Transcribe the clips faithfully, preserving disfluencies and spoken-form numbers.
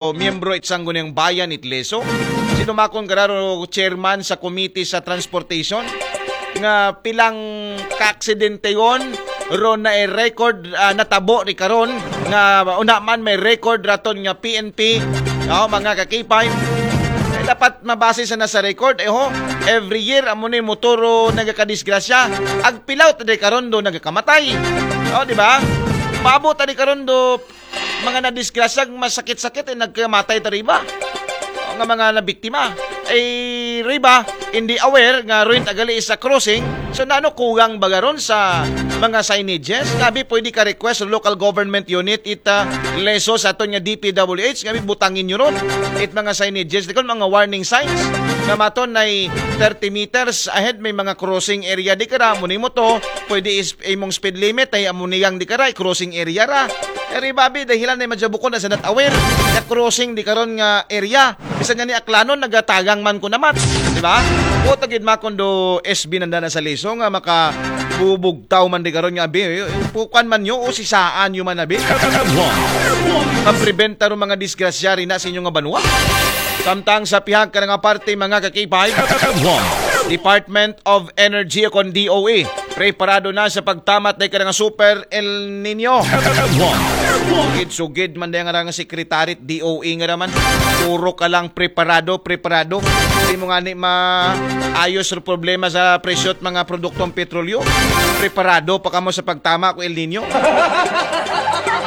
o miyembro it Sangguniang Bayan it Lezo. Sinumakon kararo chairman sa komite sa transportation nga pilang kaaksidente yon ron na record, ah, natabo ni karon nga una man may record raton nga P N P, oh, mga ka-K five. Eh, dapat mabase sa nasa record, eh ho, every year amo ni motoro nagakadisgrasya. Agpilaw ta di karon do nagakamatay. Oh, di ba? Maabot ta di karon do mga nadisgrasya, masakit-sakit, eh, nagkamatay ta riba. O nga mga nabiktima. Eh, riba, hindi aware nga ruin tagali sa crossing. So, nano kulang ba garon sa mga signages? Ngabi pwede ka request sa local government unit it, ah, Lezo sa aton nga D P W H, ngabi butangin nyo ron it mga signages, di kon mga warning signs nga maton na thirty meters ahead may mga crossing area di kara, amo nimo to, pwede is imong speed limit ay amo niyang di kara, crossing area ra. Eri babi, dahilan na madya bukon na sa not aware na crossing di karon nga area. Bisan nga ni Aklanon, nagatagang man ko naman. Di ba? O tagid makondo S B nanda na sa Lezo nga maka bubugtaw man di karon nga abi. Pukan man nyo o sisaan nyo man abi. Mapreventa ro mga disgrasya rin na sa inyo nga banwa. Samtang sa pihak ka nga parte, mga ka-K five, Department of Energy o kon D O E, preparado na sa pagtamat na ka nga Super El Nino. Sugid-sugid man dahil nga nga sekretary D O E nga naman. Puro ka lang preparado, preparado. Hindi mo nga ni maayos ang problema sa presyo at mga produktong petrolyo. Preparado pa kamo sa pagtama ko El Nino.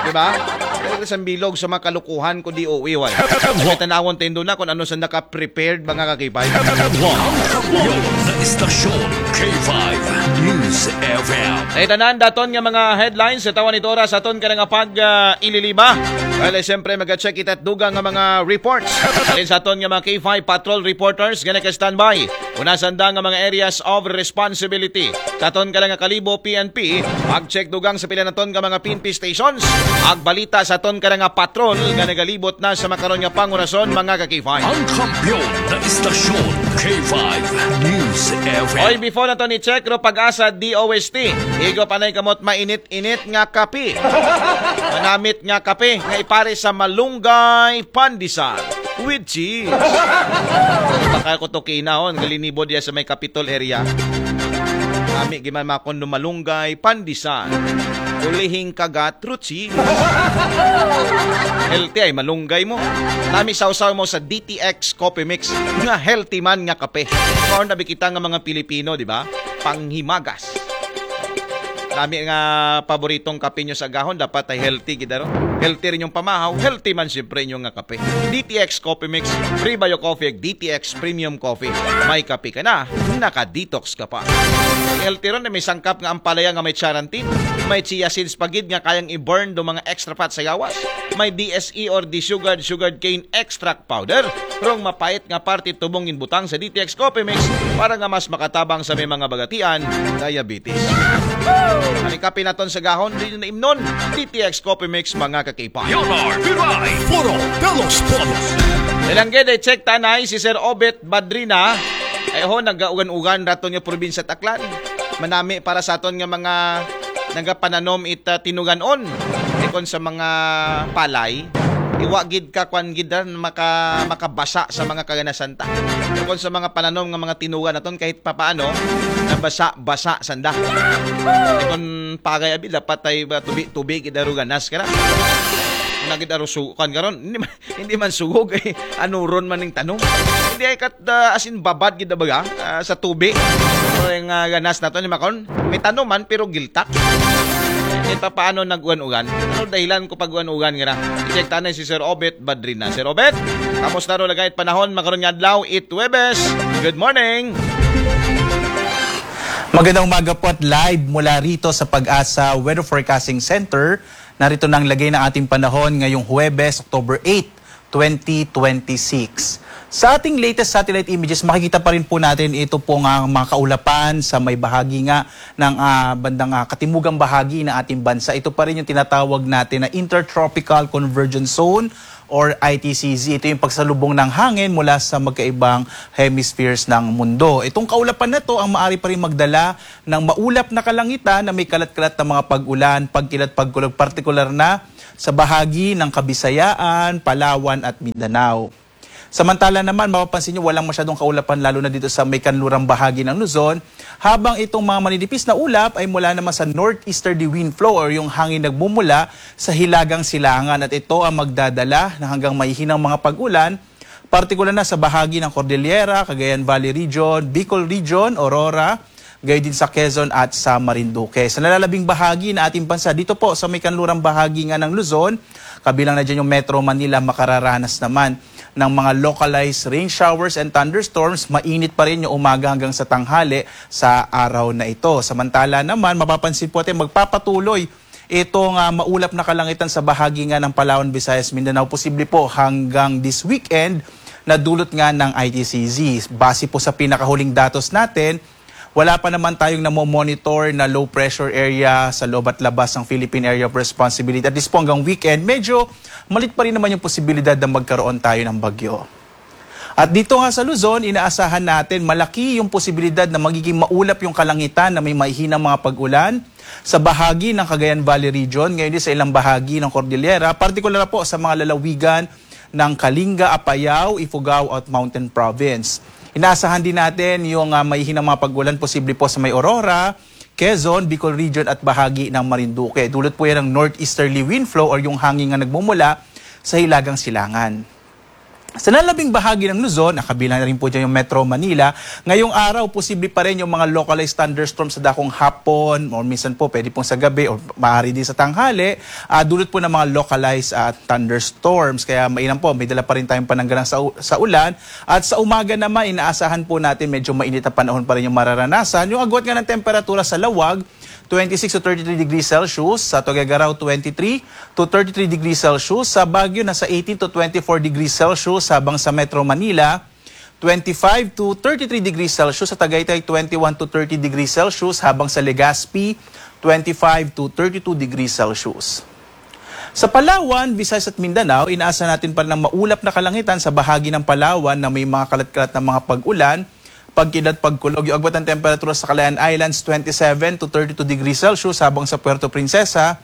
Di ba? Pero sa bilog sa mga kalukuhan ko D O E, wala. May tanawon tendo na kung ano sa naka-prepared, mga ka-K five. Ang kampiyon na istasyon, K five News F M. Ay tanan daton nga mga headlines sa tawan nito oras aton ka nga pag, ah, ililiba. Well, eh, siyempre, mag-check kita dugang nga mga reports. Alin sa aton nga mga K five patrol reporters, gana ka standby. Una sanda nga mga areas of responsibility. Sa aton ka nga kalibo, P N P, pag-check dugang sa pila naton nga mga P N P stations. Agbalita sa aton ka nga patrol nga nagalibot na sa makaron nga pangurason, mga ka-K five. Ang kampiyon na istasyon, K five News F M. Oy, before naton i-check ro pag-asa D O S T. Igo panay kamot mainit-init nga kape. Manamit nga kape nga ipare sa malunggay pandesal with cheese. Baka ko to kinahon, galinibod ya sa may Capitol area. Kami giman makondo malunggay pandesal. Ulihing kagat, cheese. Healthy ay malunggay mo. Nami sawsaw mo sa D T X Coffee Mix nga healthy man nga kape. Karon na bikita nga mga Pilipino, di ba? Panghimagas. Nami nga paboritong kape nyo sa gahon, dapat ay healthy gid aro. Healthy rin yung pamahaw, healthy man siyempre yung nga kape. D T X Coffee Mix, Free Bio Coffee, D T X Premium Coffee. May kape ka na, naka-detox ka pa. Healthy ron na may sangkap nga ampalaya nga may charantin, may chia seeds pagid nga kayang i-burn do mga extra fat sa gawas, may D S E or desugared sugar cane extract powder, rong mapait nga parte tubong ginbutang sa D T X Coffee Mix para nga mas makatabang sa may mga bagatian, diabetes. Ang kape naton sa gahon, di na imnon, D T X Coffee Mix, mga ka-K five. Leonard Viray, Puro de los Todos. Ilang gede, check tanay si Sir Obet Badrina. Ay ho, nagaugan-ugan raton nga probinsya Taklan. Manami para sa aton nga mga nagapananom it, ah, tinuganon. Ikon sa mga palay, iwa gid ka kwan gid ran maka, makabasa sa mga kaganasan ta. Ikon sa mga pananom nga mga tinugan naton kahit papaano, nabasa-basa sanda. Ikon pagay abi, dapat ay ba, tubi-tubi gid aro ganas ka na. Nagid aro sukan karon. Hindi man, hindi man sugog eh. Ano ron man ning tanom? Hindi ay kat, ah, as in babad gid baga, ah, sa tubi. So, yung, ah, ganas naton ni makon. May tanom man pero giltak. Ito paano nag-uwan-ugan? Ano dahilan ko pag-uwan-ugan nga na? I-check tanay si Sir Obet Badrina. Sir Obet, kamusta ro lagay at panahon makaron nga adlaw? It Webes. Good morning. Magandang umaga po at live mula rito sa Pag-asa Weather Forecasting Center. Narito na ang lagay ng ating panahon ngayong Huwebes, October eight, twenty twenty-six. Sa ating latest satellite images, makikita pa rin po natin ito po nga mga kaulapan sa may bahagi nga ng, ah, bandang, ah, katimugang bahagi ng ating bansa. Ito pa rin yung tinatawag natin na Intertropical Convergence Zone or I T C Z. Ito yung pagsalubong ng hangin mula sa magkaibang hemispheres ng mundo. Itong kaulapan na to ang maaari pa rin magdala ng maulap na kalangitan na may kalat-kalat na mga pag-ulan, pagkilat, pagkulog, partikular na sa bahagi ng Kabisayaan, Palawan at Mindanao. Samantala naman, mapapansin nyo walang masyadong kaulapan lalo na dito sa may kanlurang bahagi ng Luzon, habang itong mga maninipis na ulap ay mula naman sa northeasterly wind flow or yung hangin nagmumula sa hilagang silangan at ito ang magdadala ng hanggang mahihinang mga pag-ulan, partikular na sa bahagi ng Cordillera, Cagayan Valley Region, Bicol Region, Aurora, gayon din sa Quezon at sa Marinduque. Sa nalalabing bahagi ng ating bansa, dito po sa may kanlurang bahagi nga ng Luzon, kabilang na dyan yung Metro Manila, makararanas naman ng mga localized rain showers and thunderstorms. Mainit pa rin yung umaga hanggang sa tanghali sa araw na ito. Samantala naman, mapapansin po natin magpapatuloy itong uh, maulap na kalangitan sa bahagi nga ng Palawan, Visayas, Mindanao. Posible po hanggang this weekend na dulot nga ng I T C Z. Base po sa pinakahuling datos natin, wala pa naman tayong namo-monitor na low pressure area sa loob at labas ng Philippine Area of Responsibility. At least po hanggang weekend, medyo malit pa rin naman yung posibilidad na magkaroon tayo ng bagyo. At dito nga sa Luzon, inaasahan natin malaki yung posibilidad na magiging maulap yung kalangitan na may mahihinang mga pag-ulan sa bahagi ng Cagayan Valley Region, ngayon din sa ilang bahagi ng Cordillera, partikular po sa mga lalawigan ng Kalinga, Apayao, Ifugao at Mountain Province. Inaasahan din natin yung uh, mahihinang mga pag-ulan posible po sa may Aurora, Quezon, Bicol Region at bahagi ng Marinduque. Dulot po yan ng northeasterly wind flow or yung hangin nga nagmumula sa hilagang silangan. Sa nalabing bahagi ng Luzon, nakabilang na rin po dyan yung Metro Manila. Ngayong araw, posible pa rin yung mga localized thunderstorms sa dakong hapon or minsan po pwede pong sa gabi or maaari din sa tanghali. Uh, dulot po ng mga localized uh, thunderstorms. Kaya mainam po, may dala pa rin tayong pananggalang sa, sa ulan. At sa umaga naman, inaasahan po natin medyo mainit na panahon pa rin yung mararanasan. Yung agwat nga ng temperatura sa Lawag, twenty-six to thirty-three degrees Celsius, sa Tuguegarao twenty-three to thirty-three degrees Celsius, sa Baguio nasa eighteen to twenty-four degrees Celsius, habang sa Metro Manila twenty-five to thirty-three degrees Celsius, sa Tagaytay twenty-one to thirty degrees Celsius, habang sa Legazpi twenty-five to thirty-two degrees Celsius. Sa Palawan, Visayas at Mindanao, inaasa natin pa rin ang maulap na kalangitan sa bahagi ng Palawan na may mga kalat-kalat na mga pag-ulan, pagkilat, pagkulog. Yung agwat ng temperatura sa Calayan Islands, twenty-seven to thirty-two degrees Celsius, habang sa Puerto Princesa,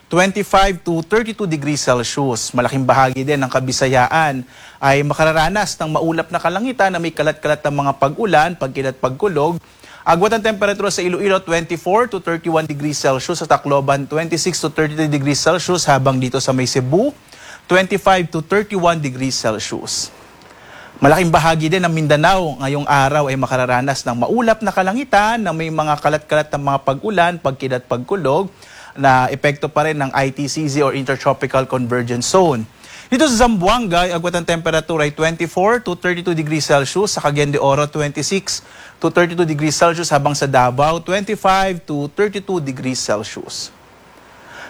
twenty-five to thirty-two degrees Celsius. Malaking bahagi din ng Kabisayaan ay makararanas ng maulap na kalangitan na may kalat-kalat na mga pag-ulan, pagkilat, pagkulog. Agwat ng temperatura sa Iloilo, twenty-four to thirty-one degrees Celsius. Sa Tacloban, twenty-six to thirty-three degrees Celsius. Habang dito sa may Cebu, twenty-five to thirty-one degrees Celsius. Malaking bahagi din ng Mindanao ngayong araw ay makararanas ng maulap na kalangitan na may mga kalat-kalat na mga pag-ulan, pagkilat, pagkulog na epekto pa rin ng I T C Z or Intertropical Convergence Zone. Dito sa Zamboanga, ang agwat ng temperatura ay twenty-four to thirty-two degrees Celsius, sa Cagayan de Oro twenty-six to thirty-two degrees Celsius, habang sa Davao twenty-five to thirty-two degrees Celsius.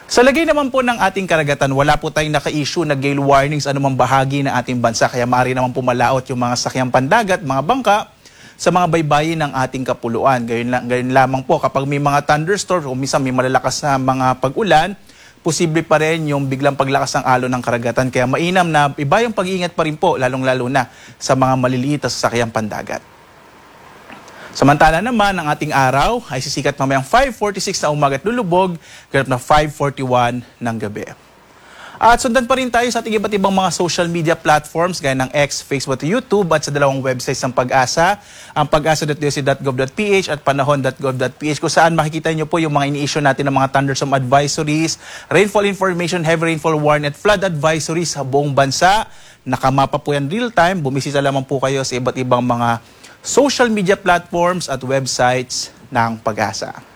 Sa lagay naman po ng ating karagatan, wala po tayong naka-issue na gale warnings anumang bahagi ng ating bansa, kaya maaari naman po malaot yung mga sakyang pandagat, mga bangka sa mga baybayin ng ating kapuluan. Gayon, la- gayon lamang po kapag may mga thunderstorms o minsan may malalakas na mga pag-ulan, posible pa rin yung biglang paglakas ng alon ng karagatan. Kaya mainam na iba yung pag-iingat pa rin po, lalong-lalo na sa mga maliliit na sasakyang pandagat. Samantala naman, ang ating araw ay sisikat mamayang five forty-six na umaga at lulubog, ganap na five forty-one ng gabi. At sundan pa rin tayo sa ating iba't ibang mga social media platforms gaya ng X, Facebook at YouTube at sa dalawang websites ng PAGASA, ang pagasa.doc.gov.ph at panahon.gov.ph, kung saan makikita niyo po yung mga ini-issue natin ng mga thunderstorm advisories, rainfall information, heavy rainfall warning at flood advisories sa buong bansa. Nakamapa po yan real time. Bumisita lamang po kayo sa iba't ibang mga social media platforms at websites ng PAGASA.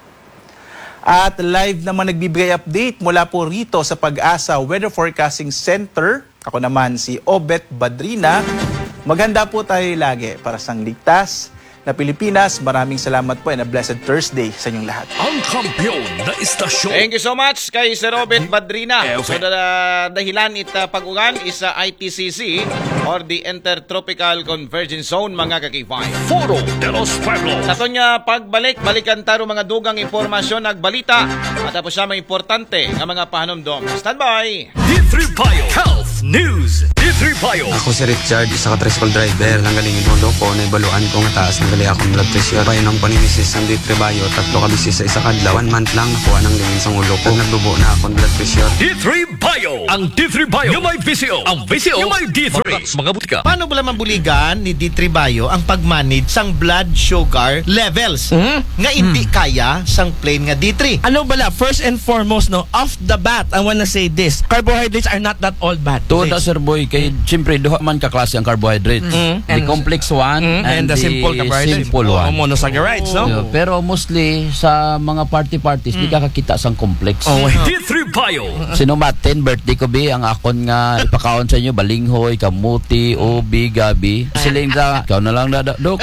At live naman nagbibigay update mula po rito sa PAGASA Weather Forecasting Center. Ako naman si Obet Badrina. Maghanda po tayo lagi para sa ligtas na Pilipinas. Maraming salamat po and a blessed Thursday sa inyong lahat. Ang kampiyon na istasyon. Thank you so much kay Sir Obet Badrina. So, da- dahilan it uh, pag-ugan is uh, I T C Z or the Intertropical Convergence Zone, mga kakibay. Foro de los Pueblos. Sa aton nga pagbalik, balikan taro mga dugang impormasyon ag balita. At tapos siya mga importante nga mga pahanumdom. Standby! D three Bio Health News, D three Bio. Ako si Richard, isa ka tricycle driver. Nanggaling yung ulo ko, naibaluan ko nga taas na gali akong blood pressure. Painom ko ni misis ang D three Bio, tatlo ka bisis sa isa ka adlaw. One month lang, nakuha ng lingin sa ulo ko. Nagdubo na akong blood pressure. D three Bio. Ang D three Bio. Yung may V C O. Ang V C O. Yung may D three. Mga, mga butika. Paano pala mabuligan ni D three Bio ang pag-manage sang blood sugar levels? Mhm. Nga hindi kaya sang plain nga D three? Ano bala, first and foremost, no, off the bat, I wanna say this. Carbohydrates are not that all bad. Tuod na, Sir Boy, kay siyempre, duha man ka klase ang carbohydrates. Mm. The And complex one Mm, and and the the simple carbohydrates. simple Oh, one. Monosaccharides, no? Yeah, pero mostly, sa mga party-parties, di Mm. ka kakita sang complex. Oh, D three Bio. Sinumatin, birthday ko, bi, ang akon nga ipakaon sa inyo, balinghoy, kamuti, ubi, gabi. Siling sa, ikaw na lang, dada, dok.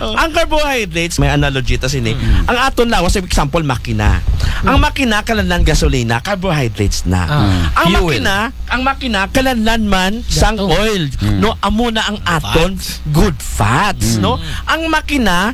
Ang carbohydrates, may analogy ta sini. Mm. Ang aton lawas, example, makina. Ang Mm. makina, kalanlan gasolina, carbohydrates na. Ah. Ang Fuel. makina, ang makina, kalanlan man sang Gato. oil, Mm. no? Amo na ang aton Fats. good fats, Mm. no? Ang makina,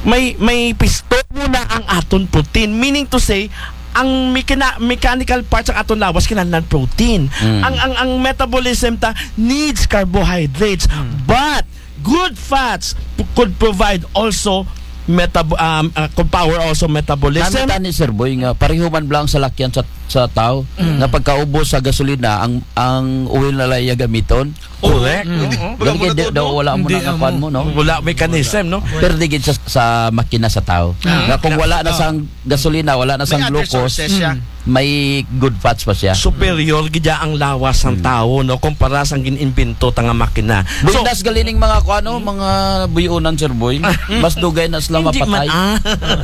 may, may piston mo na ang aton protein. Meaning to say, ang mekana-, mechanical parts ang aton lawas, kinahanglan protein. Mm. Ang, ang, ang metabolism ta needs carbohydrates. Mm. But good fats p-, could provide also metab-, um, uh, could power also metabolism. Nami tani, Sir Boy, nga pareho man bala ang salakyan sa, sa tao, Mm. nga pagkaubos sa gasolina, ang, ang oil na lang iya gamiton. Correct. Mm. Mm. Gani kay di, daw wala mo Hindi, na kakuan um, mo, no? Wala mechanism, no? Pero di gid sa, sa makina sa tao. Ah. Nga kung wala na Ah. sang gasolina, wala na May sang other glucose, sources siya. may good fats pa siya. Superior gid ang lawas sang Hmm. tao, no, kumpara sang gin-imbento ta nga makina. So, buenas gali ning mga kuan, no, mga buyonan, Sir Boy. Mas dugay na sila Hindi man, mapatay. ah.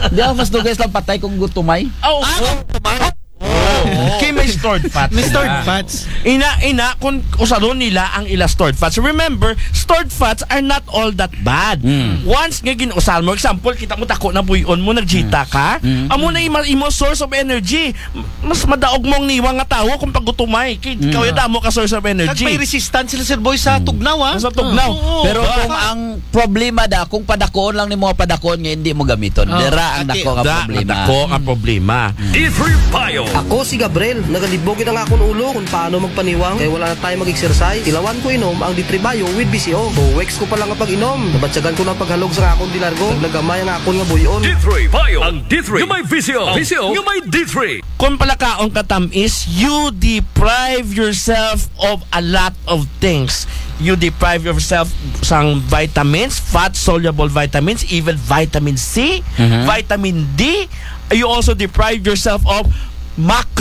Di, ah, mas dugay sila patay kung gutumay. Oh, Ah, oh. gutumay. Oh. Kay may stored fats May stored sila. fats. Ina, ina, kung usaron nila ang ila stored fats. Remember, stored fats are not all that bad. Mm. Once nga gin-usar mo, example, kita mo tako na buyon mo, nagjita Mm. ka, Mm. amo na imo, imo source of energy. Mas madaog mo ang niwa nga tawo kung pagutumay. Kay Mm. kaya damo ka source of energy. Kag may resistance sila, Sir Boy, sa Mm. tugnaw, ah. Sa tugnaw. Oo. Pero kung Baka ang problema da, kung padakoon lang nimo nga padakoon nga hindi mo gamiton. Oh. Dira ang Ati, dako nga da, problema. Dako nga problema. D three Bio. Ako si Gabriel, nagalibog ang akon ulo kung paano magpaniwang kay wala na tayo mag-exercise. Tilawan ko inom ang D three Bio with V C O. Two weeks ko pa lang ang pag-inom, nabatyagan ko na paghalog sa akon di largo. Naglagamay ang akon nga buyon. D three Bio. Ang D three. Yung may V C O. V C O. Yung may D three. Kung palakaon ka tamis, you deprive yourself of a lot of things. You deprive yourself sang vitamins, fat-soluble vitamins, even vitamin C, Mhm. vitamin D. You also deprive yourself of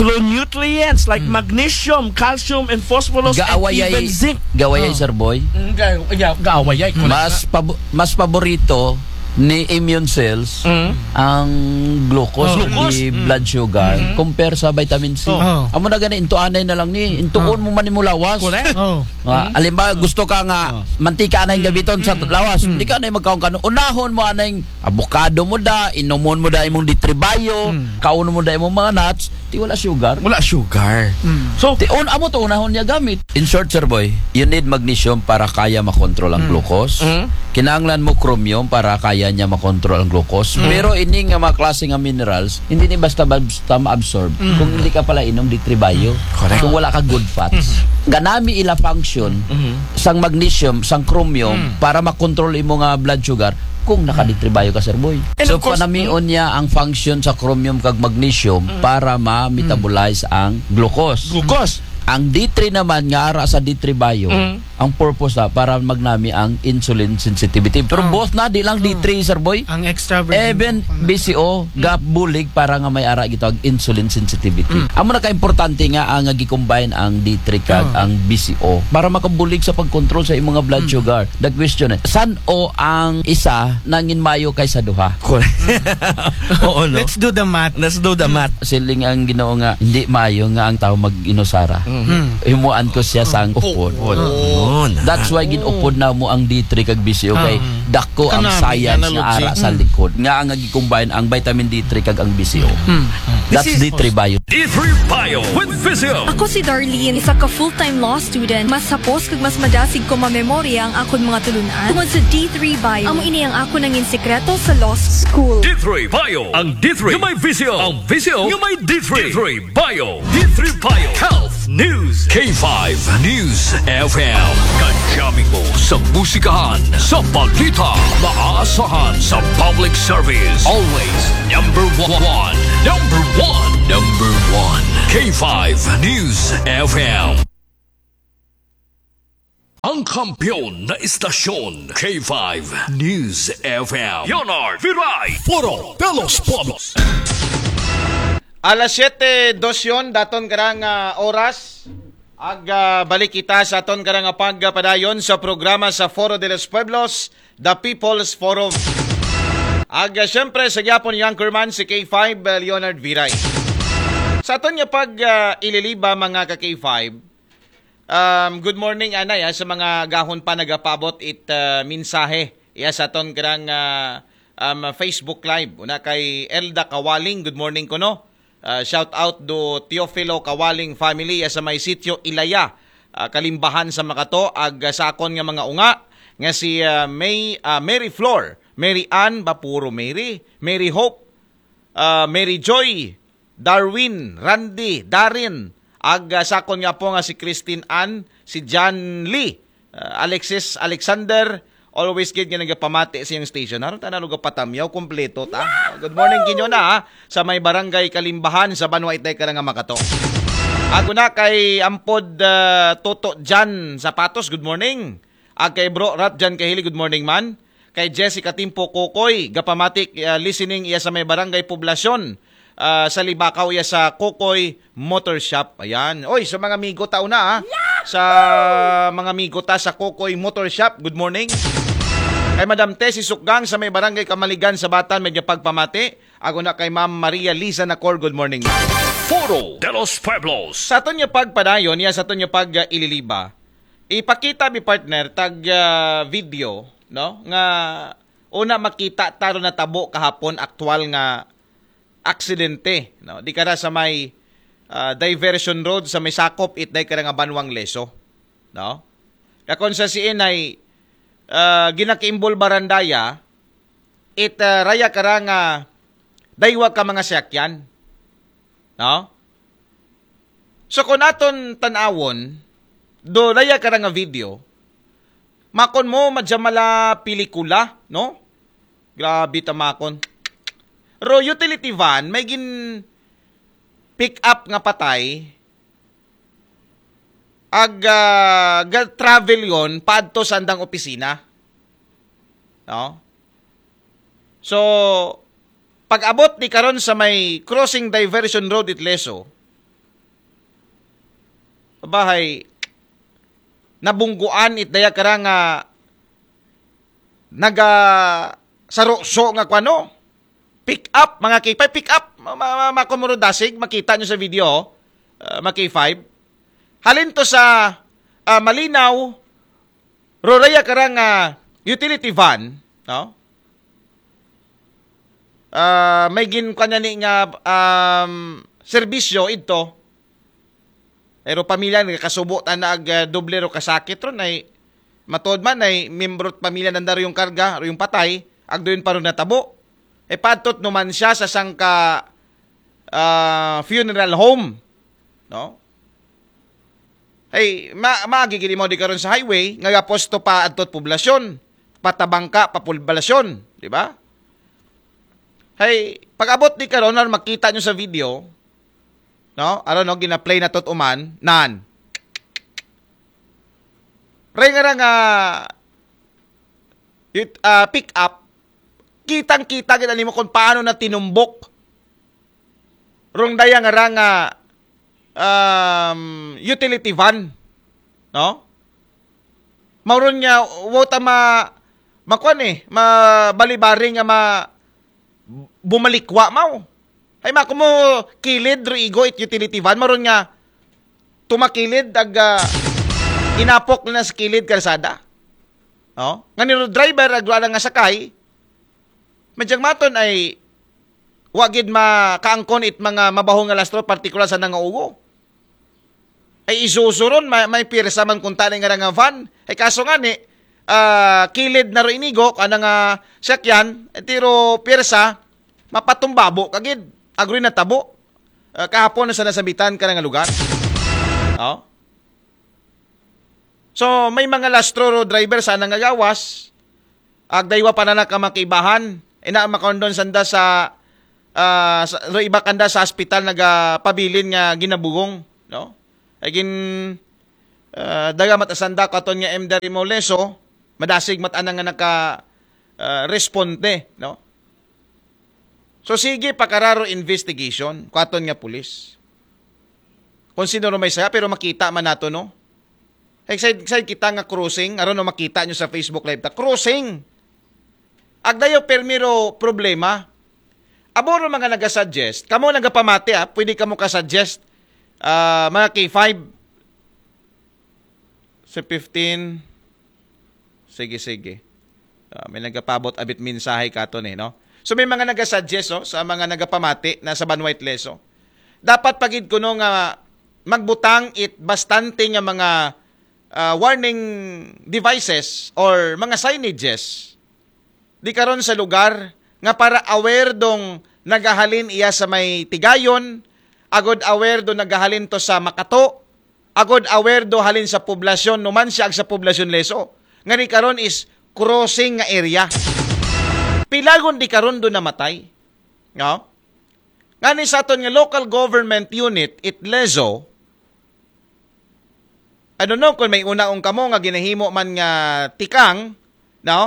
macronutrients like Mm. magnesium, calcium, and phosphorus, and Gaawayay, even zinc. gaawayay, Oh. Sir Boy. Mm, ga-, ga-, gaawayay, correct Mas na. pabo-, mas paborito ni immune cells Mm. ang glucose Oh. in Glucose. the Mm. blood sugar Mm. compare sa vitamin C. Oh. Oh. Amo na gani, intuanay na lang ni, intuon Oh. mo man imo lawas. Correct. Oh. Ah, Mm. alimbawa, gusto ka nga Oh. mantika na yung gabiton sa Mm. lawas, Mm. hindi ka na yung magkaon ka. Unahon mo anay avocado mo da, inumon mo da imong D three Bio, Mm. kaon mo da imong mga nuts, ti wala sugar. Wala sugar. Mm. So, ti un-, amo to unahon niya gamit. In short, Sir Boy, you need magnesium para kaya makontrol ang Mm. glucose. Mm. Kinahanglan mo chromium para kaya niya makontrol ang glucose. Mm. Pero ini nga mga klase nga minerals, hindi ni basta-basta ma-absorb Mm. kung hindi ka pala inom D three Bio. Correct. Kung wala ka good fats. Mm. Ganami ila function Mm. sang magnesium, sang chromium, Mm. para makontrol imo nga blood sugar kung naka-D three Bio ka, Sir Boy. And So, of course, panamion niya ang function sa chromium kag magnesium Mm. para ma-metabolize ang glucose. Glucose. Ang D three naman nga ara sa D three Bio, Mm. ang purpose na para magnami ang insulin sensitivity. Pero Oh. both na, di lang Oh. D three, Sir Boy. Ang extra virgin Even compound. V C O, Mm. gabulig para nga may ara gitawag insulin sensitivity. Mm. Amo na ka-importante nga ang, nga gi-combine ang D three kag Oh. ang V C O para makabulig sa pag-control sa imong nga blood Mm. sugar. The question is, san-o ang isa nangin mayo kaysa duha? Correct. Oo, no? Let's do the math. Let's do the math. Siling ang Ginoo nga, hindi mayo nga ang tao mag-inusara. Mm. Mm. Himuan ko siya sang upod. Upod. Oo, na. That's why gin-upod na mo ang D three kag V C O kay Ah. Dako ang Kanami, science analogy. Nga ara sa likod nga ang gi-combine ang vitamin D three kag ang Visio. That's D three Bio. D three Bio with Visio. Ako si Darlene, isa ka full-time law student. Mas hapos kag mas madasig ko mamemorya ang akon mga tulunan tungod sa D three Bio. Amo ini ang akon nangin sikreto sa law school. D three Bio. Ang D three nga may Visio. Ang Visio nga may D three. D three Bio. D three Bio. Health News. K five News F M. Kajami mo sa musikahan, sa balita, maasahan sa public service. Always number one. Number one. Number one. K five News F M. Ang kampiyon na istasyon, K five News F M. Leonard Viray. Foro de los Pueblos. Alas siyete dos yon daton karang ah, oras. Ag ah, balik kita sa aton karang pagpadayon sa programa sa Foro de los Pueblos, The People's Forum. Ag ah, siyempre sa gyapon ni Anchorman si K five ah, Leonard Viray. Sa aton nga pag ah, ililiba mga ka K five, um, good morning anay ah, sa mga gahon pa nagapabot it ah, mensahe. Iya sa aton karang ah, um, Facebook Live. Una kay Elda Kawaling, good morning kuno. Ah, shout out do Teofilo Kawaling family, ah, sa may sitio Ilaya, ah, Kalimbahan sa Makato, ag ah, sa akon nga mga unga nga si ah, May ah, Mary Flor, Mary Ann, ba puro Mary, Mary Hope, ah, Mary Joy, Darwin, Randy, Darin, ag ah, sa akon nga po nga si Christine Ann, si John Lee, ah, Alexis Alexander, always gid nga nagapamati sa iyang station. Haron ta na lugaw patamyaw, kompleto ta. Good morning kinyo na ha, sa may barangay Kalimbahan sa Banwa Itay Karanga Makato. Ako na kay Ampod ah, Toto Jan Sapatos, good morning. Ag kay Bro Rat Jan Kahili, good morning man. Kay Jessica Timpo Kokoy, gapamati, ah, listening iya sa may barangay Poblasyon, ah, sa Libakaw iya sa Kokoy Motor Shop. Ayan. Oy, sa mga migo tao na ah. Sa mga migo ta sa Kokoy Motor Shop, good morning. Kay Madam Tessie Sukgang sa may barangay Kamaligan sa Batan, medyo pagpamati. Ako na kay Ma'am Maria Liza Nacor, good morning. Foro de los Pueblos. Sa aton nga pagpadayon, iya sa aton nga pag ah, ililiba, ipakita mi partner tag ah, video, no, nga una makita ta ron natabo kahapon, aktual nga aksidente, no, di kara sa may ah, diversion road sa may sakop it day kara nga Banwang Leso, no. Kakon sa siin ay ah, ginakiimbol barandaya it ah, raya kara nga daywa ka mga siyakyan, no. So kung aton tanawon do raya kara nga video, makon mo madya mala pelikula, no. Grabe ta makon. Ro utility van may gin pick up nga patay ag ah, ga-travel yon paadto sa andang opisina, no. So pag-abot ni karon sa may crossing diversion road it Leso, bahay nabungguan it daya kara nga naga saruso nga kwano, pick up, mga K five, pick up, ma- ma- ma- makumuro dasig, makita nyo sa video, uh, mga K five. Halin to sa ah, Malinaw, Roraya karang ah, utility van, no? Ah, may gin kanya ni nga um, serbisyo idto. Pero pamilya nga kasubo ta na ag ah, doble ro kasakit ron ay matod man ay membro pamilya nanda ro yung karga, ro yung patay, agdo yun pa ron natabo. E padtot numan siya sa sangka ah, funeral home, no? Hey, ma maagi gid mo di karon sa highway nga gaposto pa adtot poblasyon, patabangka pa poblasyon, di ba? Hey, pag-abot di karon, makita nyo sa video, no? Aron no, gina-play na tot uman, nan. Ray nga ra nga yut- ah, pick up, kitang-kita gid nimo kung paano na tinumbok rong daya nga ra nga um, utility van, no? Mauron nga wa ta ma makuan eh, mabalibari nga ma bumalikwa maw. Ay mako mo kilid ro igo it utility van, mauron nga tumakilid ag ah, inapok na sa kilid kalsada. Oh, nga ni driver, ag wala nga sakay, madyang maton ay wa gid makaangkon it mga mabaho nga lastro, partikular sa nangaugo. Ay isusuron, may, may pirsa man kunta ni nga nga van. Ay kaso nga ni, ah, kilid na ro inigo, ana nga sakyan, tiro pirsa, mapatumbabo kagid. Agroy na tabo. Ah, kahapon na sa nasabitan ka nga lugar. Oh. So, may mga lastro ro driver sa nangagawas, agdaywa pa na nakamakibahan. Ina makondon sanda sa, ah, sa, ro iba kanda sa hospital nagapabilin nga ginabugong, no? Ay gin, ah, daga mat asanda katon nga M D Rimoleso, madasig mat ana nga naka, ah, responde, no? So sige, pakararo investigation, katon nga pulis. Kung sino ro may saya, pero makita man nato, no? Excited, excited kita nga crossing, aron no makita nyo sa Facebook Live ta. Crossing! Agdayo permiro problema. Amo ro mga nagasuggest, kamo nagapamati ah, pwede kamo ka-suggest, ah, mga K five. Sa fifteen. Sige, sige. Ah, may nagapabot abit mensahe katon eh, no? So may mga nagasuggest, oh, sa mga nagapamati na sa banwa it Lezo. Dapat pagid kuno nga magbutang it bastante nga mga, ah, warning devices or mga signages di karon sa lugar nga para aware dong nagahalin iya sa may Tigayon, agod aware do nagahalin to sa Makato, agod aware do halin sa poblasyon, numan siya ag sa poblasyon Leso. Nga ni karon is crossing nga area. Pilagon di karon do namatay. No? Nga ni sa aton nga local government unit, it Lezo, I don't know kung may unaon kamo nga ginahimo man nga tikang, no?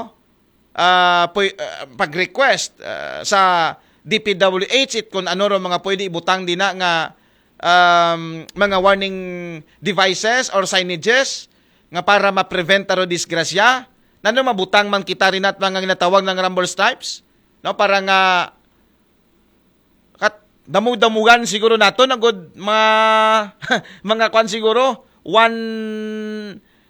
Ah, puy- ah, pag-request, ah, sa D P W H it kung ano ro mga pwede ibutang dina nga, um, mga warning devices or signages nga para ma-prevent aro disgrasya. Nano mabutang man kita rin at mga ginatawag ng rumble strips, no? Para nga kat damu-damugan siguro nato na good mga mga kwan siguro one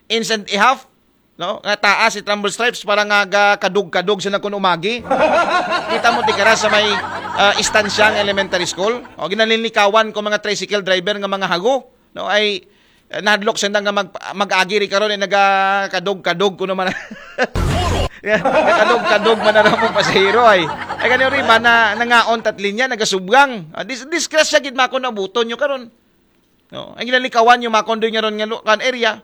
inch and a half, no? Nga taas it rumble strips para nga ga kadug-kadug sa nakun umagi. Kita mo tikara sa may, ah, Istansya nga elementary school. O ginalinlikawan ko mga tricycle driver nga mga hago, no? Ay, eh, nahadlok sanda nga mag mag-agi ri karon, eh, naga kadug-kadug kuno man. Kadug-kadug man na mong pasahero ay. Ay kanyo rin man na nangaon tat linya nagasubgang. Ah, dis disgrasya gid makon abuton nyo karon. No, ang ginalikawan nyo makon doy nga ron nga lu- kan area.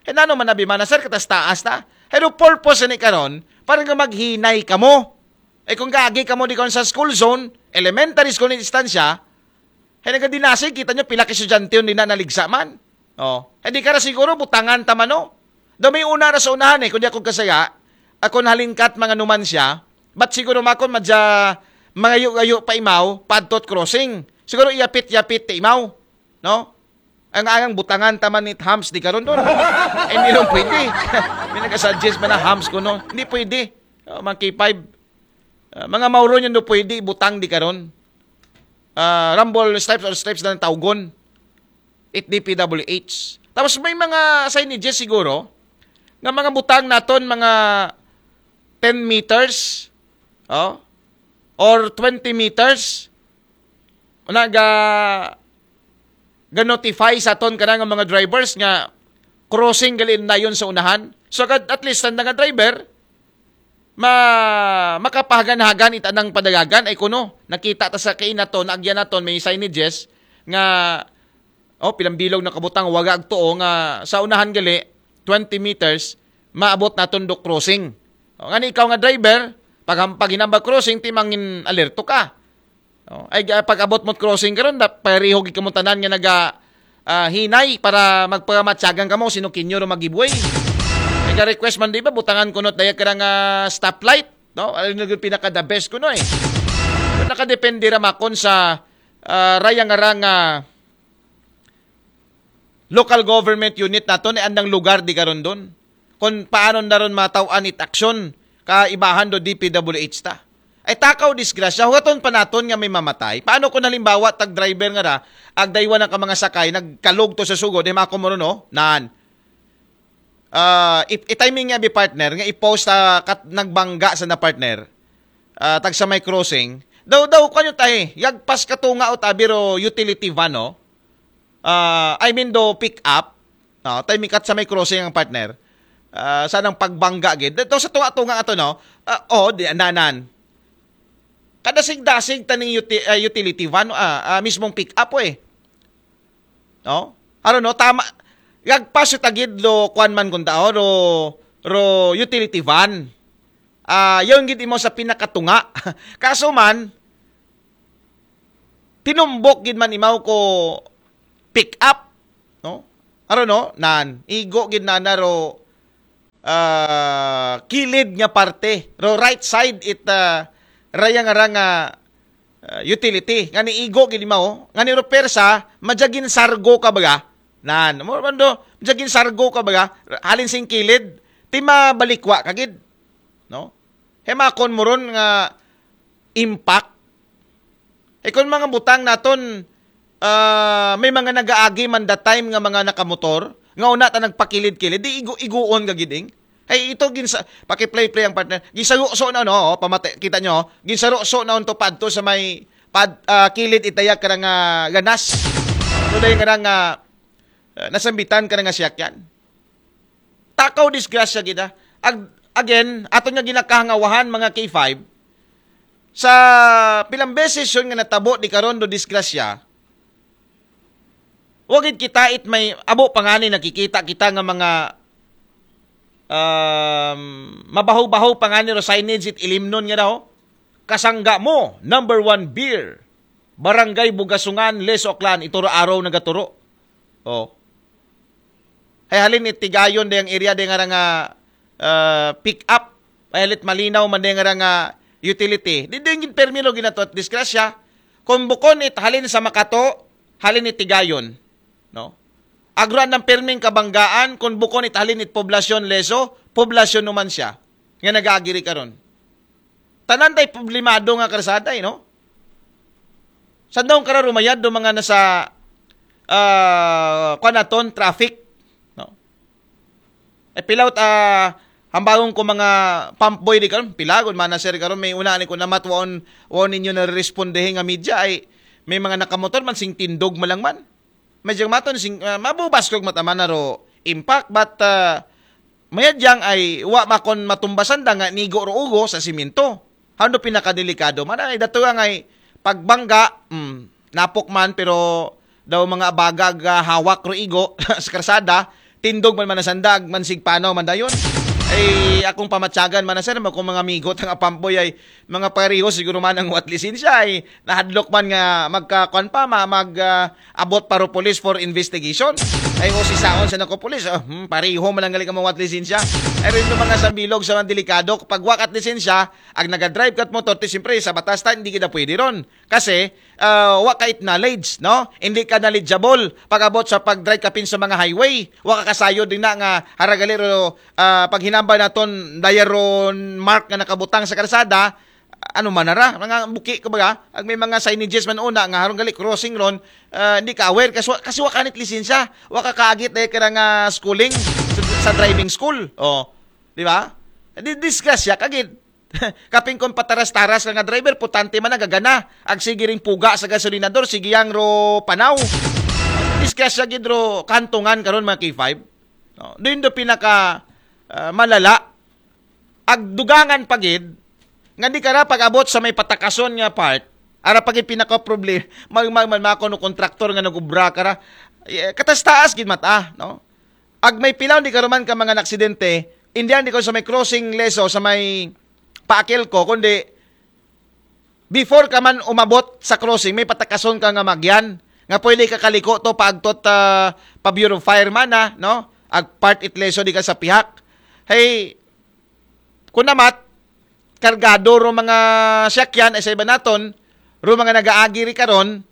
Eh nano man abi man na sir katas taas ta. Pero purpose ni karon para nga maghinay kamo. Eh kung gaagi kamo di karon sa school zone, elementary school ni distansya, ay nagadinasig kita nyo pila ka estudyante yun di na naligsa man. Oh, hindi ka ra siguro butangan ta man, no? Daw may una ra sa unahan eh, kundi ako kasaya, ako halingkat mga numan siya, but siguro makon madya mangayo-ayo pa imaw, padtot crossing. Siguro iyapit-yapit ta imaw, no? Ang angang butangan ta man ni Hams di karon doon. Eh, hindi rin pwede. May nagasuggest man na Hams ko, no? Hindi pwede. Oh, mga K five. Ah, mga mauron yun do pwede butang di karon. Ah, rumble stripes or stripes na ng tawgon. It D P W H. Tapos may mga signages siguro nga mga butang naton mga ten meters, oh, or twenty meters. Una ga ga-notify sa aton kana nga mga drivers nga crossing gali dayon sa unahan. So at, at least ang nga driver ma makapahagan-hagan ita nang padagagan ay kuno nakita ta sa kain nato, naagyan naton may signages nga oh, pilang bilog nakabutang waga agtuo nga sa unahan gali twenty meters maabot naton do crossing. O, nga ni ikaw nga driver, pag pag hinambag crossing timangin alerto ka. Oh, ay ah, pag abot mo't crossing karon da pareho gid kamo tanan nga naga ah, hinay para magpamatyagan kamo sino kinyo ro magibway. Naga request man di ba butangan kuno daya ka nga stoplight, no? Ano na gyud pinaka the best kuno eh. Pero nakadepende ra makon sa ah, raya nga ra nga local government unit naton ay andang lugar di karon doon. Kung paano na ron mataw-an it aksyon kaibahan do D P W H ta. Ay takaw disgrasya, hugaton pa naton nga may mamatay. Paano kung halimbawa tag driver nga ra, agdaywa na ka mga sakay, nagkalog to sa sugod, eh mako mo ron, oh, naan. Ah, i-, i-timing niya bi partner, nga i-post sa kat nagbangga sa na partner. Ah, tagsa may crossing. Daw, daw, kanyo tayo, yagpas katunga o tabi ro utility van, no? Ah, I mean, do pick up. No, tayo mikat sa may crossing ang partner. Ah, sanang pagbangga gid. Daw sa tunga-tunga ato, no? Ah, oh, di, nanan. Kadasig-dasig taning uti-, ah, utility van, ah, ah, mismong pick up, eh. No? Ano, no? Tama. Yagpas yung tagid lo, kuan man kung tao, ro, ro utility van. Ah, yun gid imo sa pinakatunga. Kaso man, tinumbok gid man imaw ko pick up, no? Aro, no? Nan, igo gid na na ro, ah, kilid nga parte, ro right side it, ah, raya nga ra nga, ah, utility. Ngani igo gid imaw, ngani ro persa, madya ginsargo ka baga. Nan, mo man do, madya ginsargo ka baga, halin sing kilid, ti mabalikwa ka gid, no? Hemakon mo ron nga impact. Eh, kung mga butang naton, ah, may mga nagaagi man that time nga mga nakamotor, nga una ta nagpakilid-kilid, di igu-iguon ka giding. Hey, ito ginsa, paki-play-play ang partner. Gisayo-so na, no? Oh, pamati, kita nyo, oh. Ginsaro-so na unto padto sa may pad, ah, kilid itayag ka nga ganas. Ito dahil nga nga, ah, nasambitan ka nga siyakyan. Takaw disgrasya gid, ah. Ag-, again, ato nga ginakahangawahan, mga K five, sa pilang beses yun nga natabo di karon do disgrasya, wagid kita it may abo pangani nakikita kita nga mga, um, mabaho-baho pangani ro signage it ilimnon nga daw. Kasangga mo, number one beer. Barangay Bugasungan, Les Oclan, ituro araw nagaturo. Oh. Hay halin it Tigayon dayang area day nga ra nga, ah, pick up. Hay halit malinaw man day nga ra nga utility. Di din gid permi lo ginato at disgrasya. Kung bukon it halin sa Makato, halin it Tigayon, no? Agruan ng perming kabanggaan, kung bukon it halin it poblasyon leso, poblasyon naman siya. Nga nag-aagiri karon. Tanan tay problemado nga karsada, eh, no? Sandaw kara rumayad do mga nasa, ah, kuan naton, traffic, no? Eh, pilaw, ah, hambangon ko mga pump boy di karon, pila gud man na, sir, karon may una ni ko namat waon, waon ninyo na responde nga media ay may mga nakamotor man sing tindog malang man. Medyo maton sing, ah, mabubas kog mataman na ro impact, but, ah, mayadyang ay wa makon matumbasan da nga nigo ro ugo sa simento. Hando pinakadelikado man ay dato nga ay pagbangga, mm, napok man pero daw mga bagag, ah, hawak ro igo sa karsada, tindog man man nasandag man sig panaw man dayon. Ay akong pamatyagan man na, sir, mo kung mga migot ang apamboy ay mga pareho siguro man ang wat lisensya ay nahadlok man nga magkakuan pa, ma-, mag, ah, abot paro police for investigation. Ay, o si saon sa nako police, ah, hmm, pareho man ang galing ang mga wat lisensya. Ay, rin yung mga sambilog sa mga delikado, kapag wakat lisensya, ang nagadrive kat motor, ti siyempre, sa batas ta, hindi kita pwede ron. Kasi, ah, wa ka it knowledge, no? Hindi ka knowledgeable pag-abot sa pag-drive kapin sa mga highway. Wa ka kasayod din na nga haragalero, ah, paghinambal naton, dayaron mark nga nakabutang sa karsada, ano man nara, mga buki, kumbaga, ag may mga signages man una nga harong gali crossing ron, ah, hindi ka aware kasi, kasi wa kanit lisensya, wa ka kaagit dahil ka nga schooling sa, sa driving school. Oh, di ba? Di disgrasya kagid. Kaping kon pataras-taras ka nga driver, putante man nagagana. Ag sige ring puga sa gasolinador, sige yang ro panaw. Disgrasya gid ro kantungan karon, mga K five. No? Doon do pinaka, ah, malala. Ag dugangan pa gid nga di kara pag-abot sa may patakason nga part, ara pa gid pinaka problema, mag, mag, mag, mga kuno kontraktor nga nagubra kara. Eh, kataas-taas gid mata, no? Ag may pilaw di karuman ka mga naksidente, hindi di ko sa may crossing leso, sa may paakil ko, kundi before ka man umabot sa crossing, may patakason ka nga magyan, nga pwede ka kaliko to paagtot, ah, pa Bureau of Fire man, ah, no? Ag part it leso di ka sa pihak. Hey, kunamat, kargado ro mga siyakyan, ay sa iba naton, ro mga nagaagi ri karon,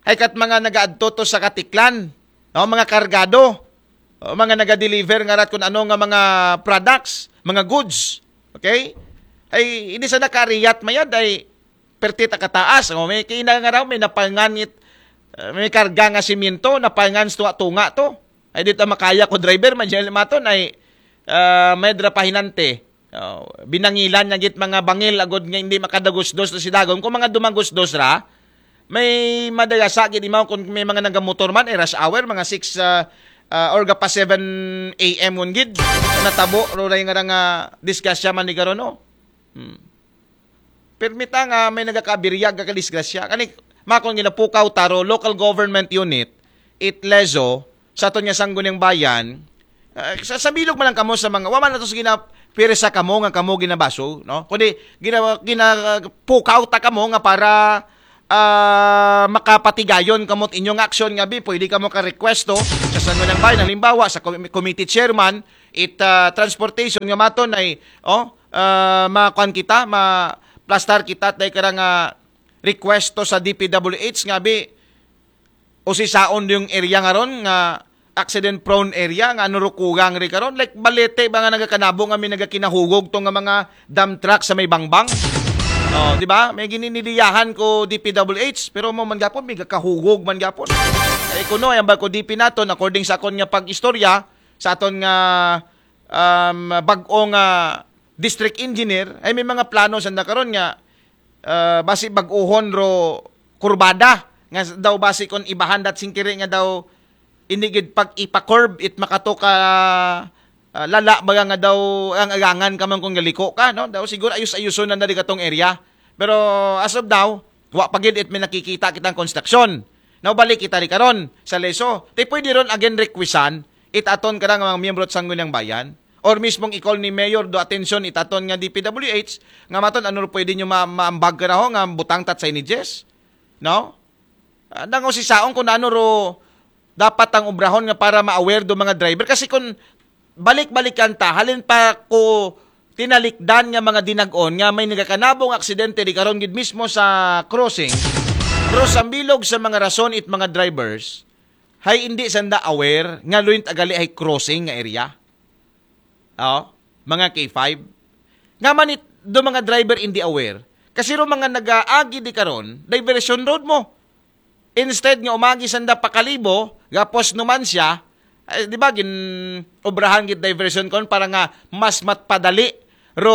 ay kat mga nagaadto to sa Katiklan, no? Mga kargado, o mga naga-deliver nga rat kung ano nga mga products, mga goods. Okay? Ay, hindi sa nakariyat mayad ay perti ta kataas. O, may kina nga raw, may napangan it, uh, may karga nga simento, napangan sa tunga-tunga to. Ay, dito makaya ko driver, man dyan maton, ay, ah, may dra pahinante. Oh, binangilan niya gid mga bangil agod nga hindi makadagusdos na si Dagom. Kung mga dumagusdos ra, may madagasa gid imaw kung may mga nagamotor man, eh, rush hour, mga six, ah, ah, or gapa seven a m ngon gid. Natabo, ro na yung nga disgrasya man ni karon, no? Hmm. Permita nga may nagakabiryag, kakadisgrasya. Kani, makon ginapukaw taro, local government unit, it lezo, sa aton nga sangguniang bayan, ah, sa, sa bilog man lang kamo sa mga, wa man nato sa gina, pirsa kamo nga kamo ginabaso, no? Kundi, gina, ginapukaw ta kamo nga para, ah, makapatigayon kamo inyong aksyon nga bi, pwede kamo ka-requesto sa sangguniang bayan, halimbawa, sa com-, committee chairman, it, ah, transportation nga maton ay, oh, ah, makuan kita, ma plastar kita, tay karang, ah, request to sa D P W H nga bi, usisaon yung area nga ron nga accident prone area nga ano ro kugang ri karon, like Balete ba nga nagakanabo nga may nagakinahugog to nga mga dump truck sa may Bangbang. Oh, di ba? May gininidiyahan ko D P W H, pero mo man gapon, may gakahugog man gapon. Eh, kuno, yan ba ko D P naton, according sa akon nga pag-istorya, sa aton nga, um, bag-ong, ah, district engineer, ay may mga plano sa nakaron nga, ah, basi bag-ohon ro kurbada, nga daw basi kon ibahan dat singkiri nga daw inigid pag ipa-curve it makato ka, ah, lala baga nga daw ang agangan ka man kung galiko ka, no? Daw siguro ayos-ayuson na na di katong area. Pero as of now, wa pa gid it may nakikita kitang construction. Now, balik kita ri karon sa leso. Ti pwede ron again requestan it aton karang mga miyembro sa Sangguniang Bayan. Or mismong i-call ni Mayor do atensyon it aton nga D P W H nga maton ano ro pwede nyo ma maambag karaho nga butang tat signages. No? Ah, nang usisaon kung ano ro dapat ang obrahon nga para ma-aware do mga driver. Kasi kung balik-balikan ta, halin pa ko tinalikdan nga mga dinag-on nga may nagakanabong aksidente di karon gid mismo sa crossing. Pero sa bilog sa mga rason it mga drivers, hay hindi sanda aware nga luin tagali hay crossing nga area. Oh, mga K five. Nga man it, do mga driver hindi aware. Kasi ro mga nagaagi di karon, diversion road mo. Instead nga umagi sanda pa Kalibo, gapos Numancia, eh, di ba, gin obrahan gid diversion kon para nga mas matpadali ro,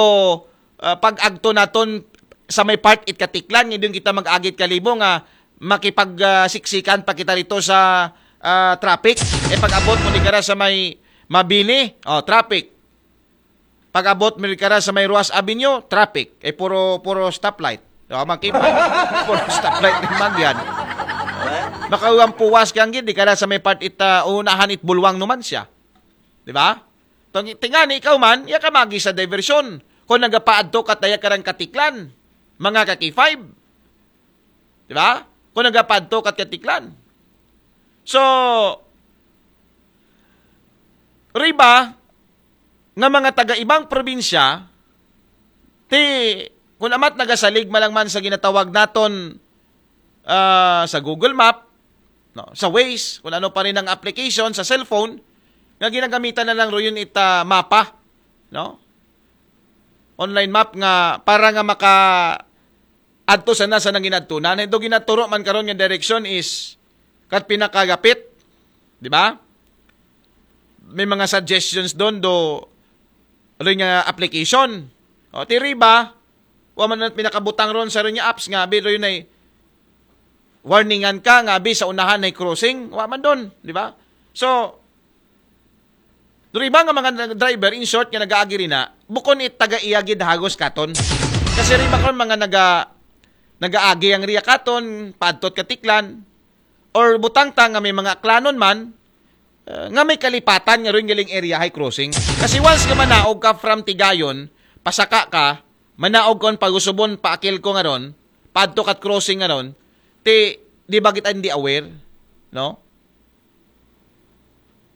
ah, pag-agto naton sa may part it Katiklan, nga doon kita mag-agit Kalibo nga makipag, ah, siksikan pa kita rito sa, ah, traffic. Eh, pag-abot mo ni kara sa may Mabini, oh, traffic. Pag-abot mo ni kara sa may Roxas Avenue, traffic. Eh, puro, puro stoplight. Oh, makita. Puro stoplight ni Magyan. Makauwang puwas kang gid, di kara sa may part it, ah, unahan it Bulwang Numancia. Di ba? Tong, tingani ikaw man, iya ka magi sa diversion. Kung nagapaadto ka taya karang Katiklan, mga ka K five. Di ba? Kung nagapaadto ka Katiklan. So, riba nga mga taga ibang probinsya, ti, kung amat nagasalig malang man sa ginatawag naton, ah, sa Google Map, no, sa Waze, kung ano pa rin ang application sa cellphone, nga ginagamitan na lang ro yun it, ah, mapa, no? Online map nga para nga maka adto sana sa nang ginadtunan. Ito ginaturo man karon nga direction is kat pinakagapit, di ba? May mga suggestions doon do, ano nga application. O, ti riba, wa man pinakabutang ron sa rin nga apps nga, abi ron ay warningan ka nga, abi sa unahan ay crossing, wa man doon, di ba? So, riba nga mga driver, in short, nga nagaagi rin na, bukon it taga iya gid hagos katon. Kasi riba kon mga naga, nagaagi ang riya katon, paadtot Katiklan, or butang ta nga may mga aklanon man, eh, nga may kalipatan nga rin galing area high crossing. Kasi once nga manaog ka from Tigayon, pasaka ka, manaog kon pagusubon, paakil ko nga ron, paadto kat crossing nga ron, ti, di ba kita hindi aware? No?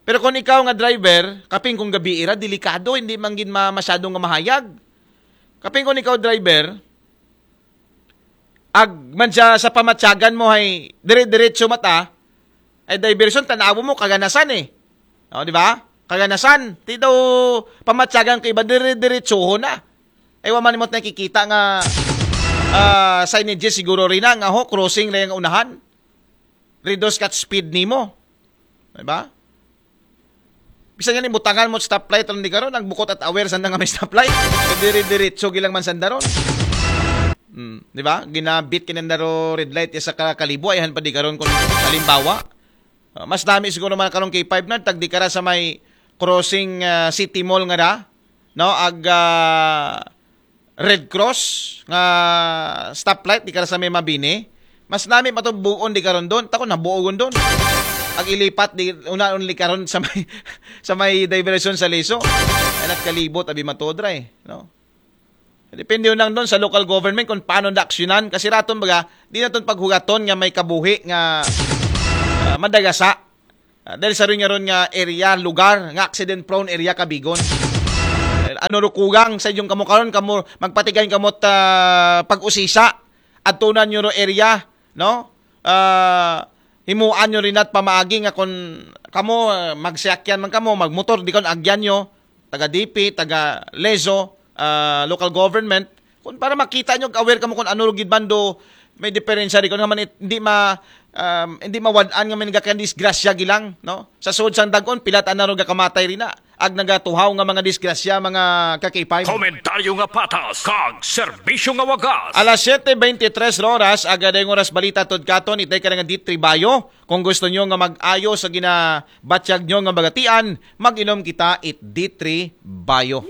Pero kung ikaw nga driver, kaping kung gabi ira, delikado, hindi man gid ma-, masyadong nga mahayag. Kaping kung ikaw driver, ag man siya sa pamatyagan mo hay dire-diretso mata, ay diversion, tanawo mo, kaganasan eh. O, di ba? Kaganasan. Ti daw pamatyagan ko iba, dire-diretsoho na. Ay, wa man imot nakikita nga, ah, signages siguro rin na, nga ho, crossing na yung unahan. Reduce kat speed nimo. Di ba? Bisan gani butangan mo stoplight ron di karon, ang bukot at aware sanda nga may stoplight. Kadiri-diretso gilang man sanda ron. Hmm, di ba? Ginabit kinanda ro red light ya sa ka-, Kalibo, ayhan pa di karon kung halimbawa. Ah, mas dami siguro man karon K five na, tag di kara sa may crossing, ah, City Mall nga da, no? Ag, ah, Red Cross nga stoplight di kara sa may Mabini. Mas nami pa to buon di karon doon. Tako na buogon doon. Ag ilipat di una only karon sa may sa may diversion sa Leso. Ay nagkalibot abi matodra eh, no? Depende lang doon sa local government kung paano da aksyonan. Kasi raton baga, di naton paghugaton nga may kabuhi nga ah, madagasa. Ah, dahil sa ron nga ron nga area, lugar, nga accident prone area kabigon. Eh, ano rukugang sa inyong kamo karon, kamo magpatigan kamo ta pag-usisa, adtunan nyo ro area, no? Ah, himuan nyo rin at pamaagi nga kung kamo, ah, magsiyakyan man kamo, magmotor, di kon agyan nyo, taga D P, taga Lezo, ah, local government, kung para makita nyo, aware kamo kung ano ro gid bando, may diferensya di kon nga man it-, hindi ma, um, hindi mawad-an nga may nagakandisgrasya gilang, no? Sa sud sang dagon, pilat ana ro gakamatay rin na. Ag nagatuhaw nga mga disgrasya, mga ka-K five. Komentaryo nga patas, kag serbisyo nga wagas. Alas siyete beintitres ro oras, aga dayong oras balita tod katon, itay ka na nga D three Bayo. Kung gusto nyo nga mag-ayo sa ginabatyag nyo nga bagatian, mag-inom kita it D three Bayo.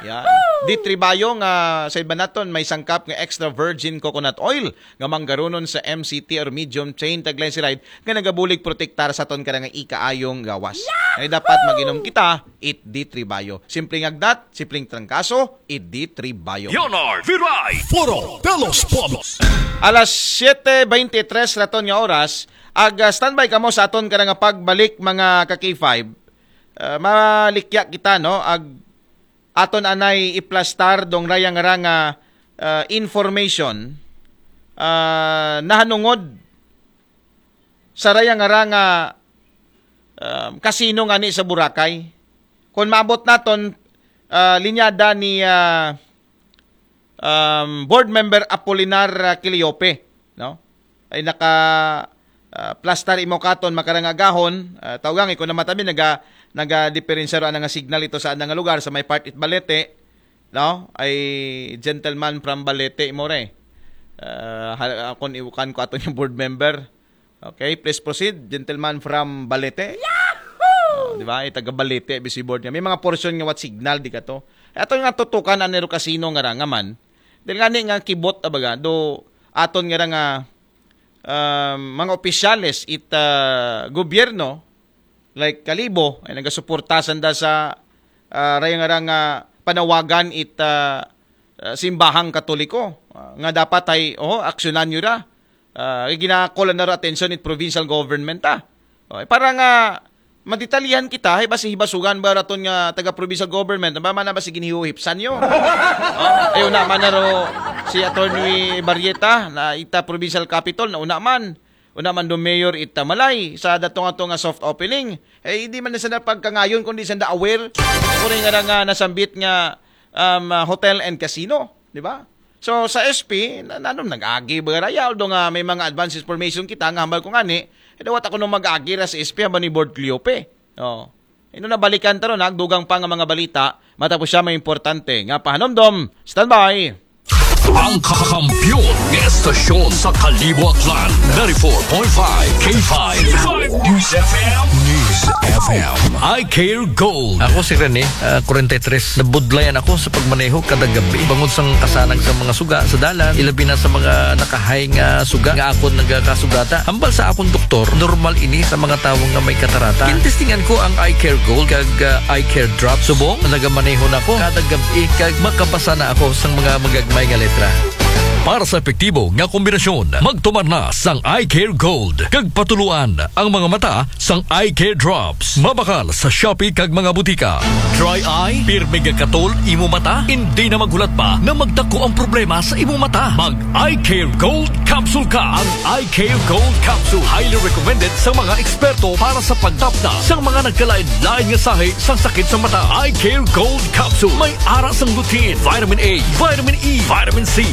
Yan. D three Bayo nga sa iba naton may sangkap nga extra virgin coconut oil nga manggarunon sa M C T or medium chain triglyceride nga nagabulig protektar sa aton kada nga ikaayong gawas. Ay dapat mag-inom kita it D three Bayo. Simpleng agdat, simpleng trangkaso, it D three Bayo. Leonard Viray. Foro de los Pueblos. Alas siyete beintitres raton nga oras, ag, ah, standby kamo sa aton kada nga pagbalik, mga ka-K five. Ah, malikya kita, no? Ag aton anay iplastar dong raya nga ra nga, ah, information, ah, nahanungod sa raya nga ra nga, ah, kasino ngani sa Boracay. Kung maabot naton, ah, linyada ni, ah, um, Board Member Apolinar, ah, Quiliope, no? Ay naka, ah, plastar imo katon makarang agahon, ah, tawgang iko na matabi naga nagadiperensya ro ana nga signal ito sa ana nga lugar sa may part it Balete, no? Ay gentleman from Balete imo re. Ah, ha-, akon iwukan ko aton yung board member. Okay, please proceed, gentleman from Balete. Oh, di ba? Ay taga Balete, busy board nga. May mga portion nga what signal di ka to. Ato nga tutukan ang Nero Casino nga ra nga man. Dahil nga ni nga kibot abaga do aton nga ra nga, um, mga opisyales it, ah, gobyerno like Kalibo ay nagasuporta sanda sa, ah, raya nga ra nga panawagan it, ah, ah, simbahang Katoliko, ah, nga dapat ay, oh, aksyonan nyo ra. Ah, ginakol na ra atensyon it provincial government, ah. Oh, para nga madetalihan kita, hay basi hibasugan ba raton nga taga provincial government, ba man na basi ginhihuhipsan nyo? Oh, ay una man na ro si Attorney Barrieta na ita provincial capital na una man. Una man do mayor ita Malay sa datong ato nga soft opening. Eh, hindi man na sanda pagkangayon kundi sanda aware. Kung nga nga nasambit nga um, uh, hotel and casino, di ba? So sa S P, na, nanom nag-agi ba raya, although nga may mga advance information kita nga hambal ko ngani, eh, dawat ako nung mag-agi ra sa S P hambal ni Board Cleope. Oh. Ino na balikan ta ron, ha? Dugang pa nga mga balita, matapos siya may importante nga pahanomdom. Standby! Ang kakampiyon nga estasyon sa Kalibo Aklan, ninety-four point five K five. News F M. News F M. I Care Gold. Ako si Rene, ah, forty-three. Nabudlayan ako sa pagmaneho kada gabi. Bangod sang kasanag sa mga suga sa dalan, ilabi na sa mga nakahay nga suga nga akon nagakasugata. Hambal sa akon doktor, normal ini sa mga tawo nga may katarata. Gintestingan ko ang Eye Care Gold kag, ah, Eye Care Drop. Subong, nagamaneho na ko kada gabi kag makabasa na ako sang mga magagmay nga letra. Para sa epektibo nga kombinasyon, magtumar na sang Eye Care Gold kag patuluan ang mga mata sang Eye Care Drops. Mabakal sa Shopee kag mga butika. Dry eye? Pirmi gakatol imo mata? Hindi na maghulat pa na magdako ang problema sa imo mata. Mag Eye Care Gold Capsule ka. Ang Eye Care Gold Capsule highly recommended sa mga eksperto para sa pagtapna sa mga nagkalain-lain nga sahi sa sakit sa mata. Eye Care Gold Capsule may ara sang lutein, vitamin A, vitamin E, vitamin C,